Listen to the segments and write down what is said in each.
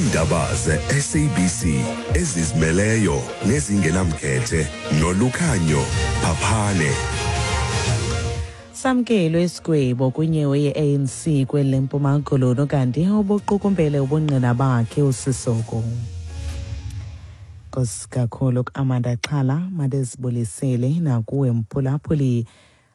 Iindaba ze-SABC ezizimeleyo nezingenamkhethe nolukhanyo Phaphane. Samkelwe isigwebo kwinyewe ye-ANC kweli leMpuma Koloni kanti ubuqukumbele ubungqina bakhe uSisoko. Nkosi kakhulu kuAmanda Xhala, mandizibulisele nakuwe mphulaphuli.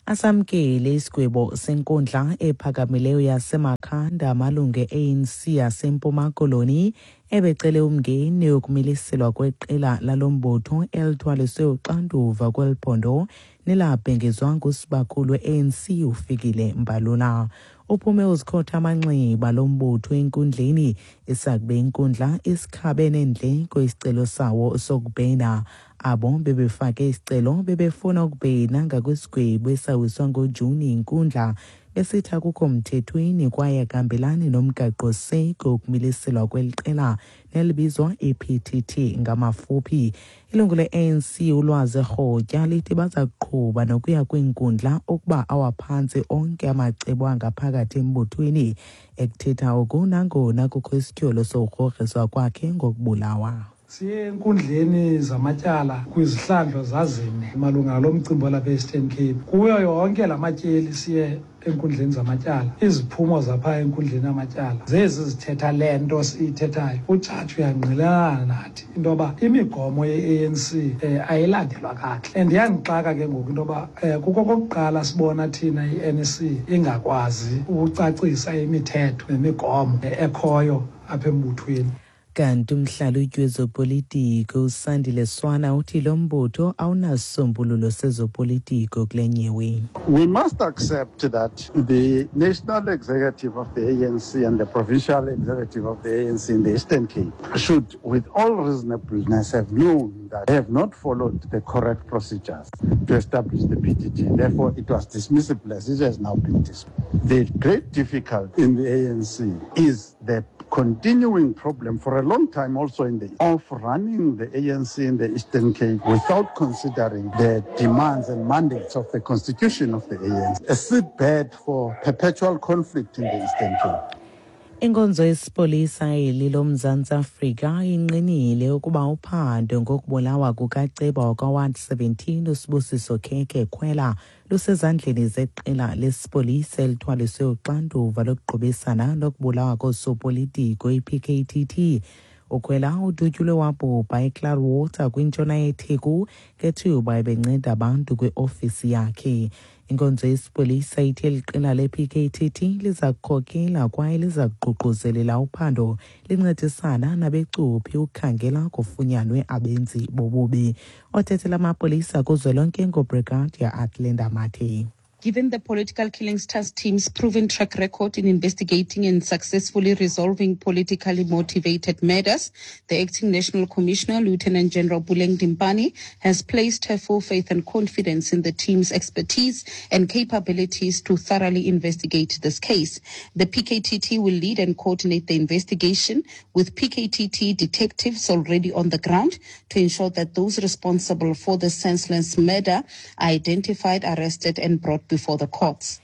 Asamkele isigwebo senkundla ephakamileyo yaseMakhanda amalungu e-ANC yaseMpuma Koloni ebecele umngeni wokumiliselwa kweqela lalo mbutho elithwaliswe uxanduva kweli phondo nelabhengezwa ngusibakhulu we-ANC uFikile Mbalula. Uphume uzikhotha amanxeba lo mbutho enkundleni isakube inkundla isikhabe neendleko isicelo sawo sokubhena. Abo bebefake isicelo bebefuna ukubhena ngakwisigwebo esawiswa ngoJuni inkundla besithi akukho mthethweni kwaye akuhambelani nomgaqo-seko wokumiliselwa kweli qela nelibizwa i-PTT ngamafuphi. Ilungu le-ANC uLwazi Rhotya lithi baza kuqhuba nokuya kwiinkundla ukuba awaphantsi onke amacebo angaphakathi embuthweni. Ekuthetha oku nangona kukho isityholo sokugrogriswa kwakhe ngokubulawa. Siye enkundleni zamatyala kwizihlandlo zazine malunga nalo mcimbi walapha e-Eastern Cape. Kuyo yonke la matyeli siye enkundleni zamatyala, iziphumo zapha enkundleni yamatyala zezi zithetha le nto siyithethayo. Ujaji uyangqinelana nathi into yoba imigomo ye-ANC ayilandelwa kakuhle. And iyandixaka ke ngoku into yoba kukokokuqala sibona thina i-NEC ingakwazi ukucacisa imithetho nemigomo ekhoyo apha embuthweni. Kanti umhlalutyi wezopolitiko uSandile Swana uthi lo mbutho awunasisombululo sezopolitiko kule nyewe. We must accept that the National Executive of the ANC and the Provincial Executive of the ANC in the Eastern Cape should, with all reasonableness, have known that they have not followed the correct procedures to establish the PTT. Therefore, it was dismissible as it has now been dismissed. The great difficulty in the ANC is the continuing problem for a long time also in the of running the ANC in the Eastern Cape without considering the demands and mandates of the constitution of the ANC, a seedbed for perpetual conflict in the Eastern Cape. Inkonzo yesipolisa eli loMzantsi Afrika ingqinile ukuba uphando ngokubulawa kukaceba wakwa-Ward 17 uSibusiso Khekhe Khwela lusezandleni zeqela lesipolisa elithwaliswe uxanduva lokuqubisana nokubulawa koosopolitiko i-PKTT. Ukhwela udutyulwe wabhubha eClarwater kwintshona yeTheku ngethuba ebenceda abantu kwiofisi yakhe. Inkonzo yesipolisa ithe eli qela le-PKTT liza kukhokela kwaye liza kuququzelela uphando lincedisana nabecuphi ukukhangela kufunyanwe abenzi bobubi. Othethela amapolisa kuzwelonke nguBrigadier Athlenda Mathe. Given the political killings task team's proven track record in investigating and successfully resolving politically motivated murders, the acting National Commissioner, Lieutenant General Puleng Dimpane, has placed her full faith and confidence in the team's expertise and capabilities to thoroughly investigate this case. The PKTT will lead and coordinate the investigation with PKTT detectives already on the ground to ensure that those responsible for the senseless murder are identified, arrested, and brought before the courts.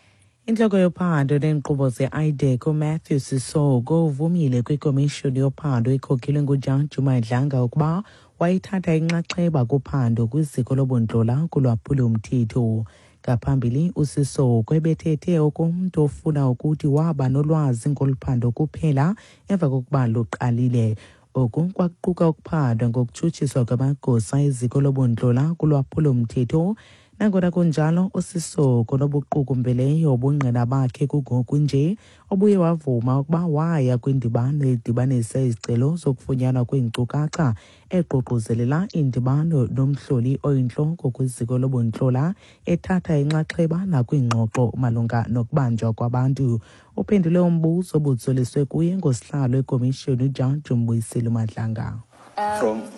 Intloko yophando neenkqubo ze-IDAC uMatthew Sisoko uvumile kwikomishoni yophando ekhokelwe nguJaji uMadlanga ukuba wayithatha inxaxheba kuphando kwiziko lobundlola kulwaphulomthetho. Ngaphambili uSisoko ebethethe okomntu ofuna ukuthi waba nolwazi ngolu phando kuphela emva kokuba luqalile. Oku kwakuquka ukuphandwa ngokutshutshiswa kwamagosa eziko lobundlola kulwaphulomthetho. Nangona kunjalo, uSisoko nobuqukumbeleyo ubungqina bakhe kungoku nje obuye wavuma ukuba waya kwindibano edibanisa izicelo zokufunyanwa kweenkcukacha eququzelela indibano nomhloli oyintloko kwiziko lobuntlola ethatha inxaxheba nakwiingxoxo malunga nokubanjwa kwabantu. Uphendule umbuzo obutsoliswe kuye ngosihlalo wekomishoni uJaji Mbuyiseli Madlanga.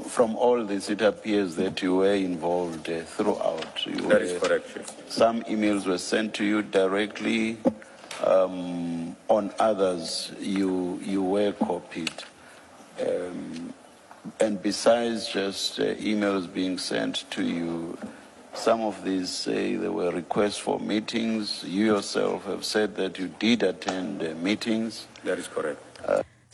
From all this, it appears that you were involved throughout. That is correct, Chief. Some emails were sent to you directly. On others, you were copied. And besides just emails being sent to you, some of these say there were requests for meetings. You yourself have said that you did attend meetings. That is correct.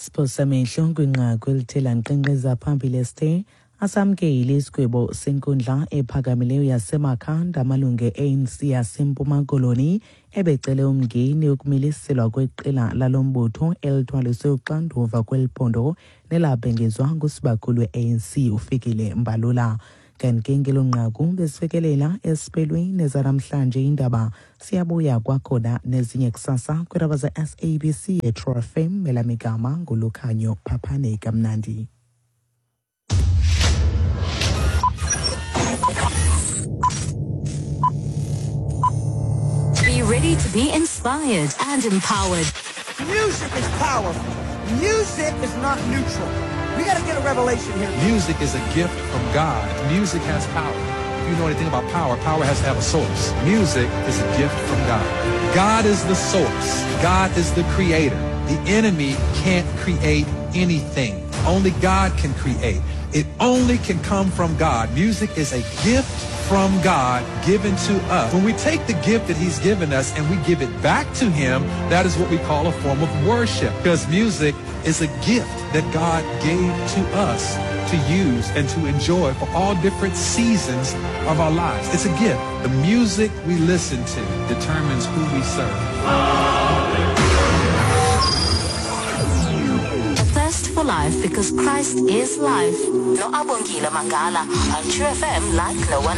Siphosamehlo kwinqaku elithe lankqenkqeza phambili esithe asamkele isigwebo senkundla ephakamileyo yaseMakhanda. Amalungu e-ANC yaseMpuma Koloni ebecele umngeni ukumiliselwa kweqela lalo mbutho elithwaliswe uxanduva kweli phondo nelabhengezwa ngusibakhulu we-ANC uFikile Mbalula. Kanti ke ngelo nqaku besifikelela esiphelweni ezanamhlanje iindaba. Siyabuya kwakhona nezinye kusasa kwiindaba ze-SABC eTrue FM. Elamigama nguLukhanyo Phaphane. Kamnandi. Be ready to be inspired and empowered. Music is powerful. Music is not neutral. We got to get a revelation here. Music is a gift from God. Music has power. If you know anything about power, power has to have a source. Music is a gift from God. God is the source. God is the creator. The enemy can't create anything. Only God can create. It only can come from God. Music is a gift from God given to us. When we take the gift that he's given us and we give it back to him, that is what we call a form of worship, because music is a gift that God gave to us to use and to enjoy for all different seasons of our lives. It's a gift. The music we listen to determines who we serve. A thirst for life, because Christ is life. No Abongile Mangala on True FM like no one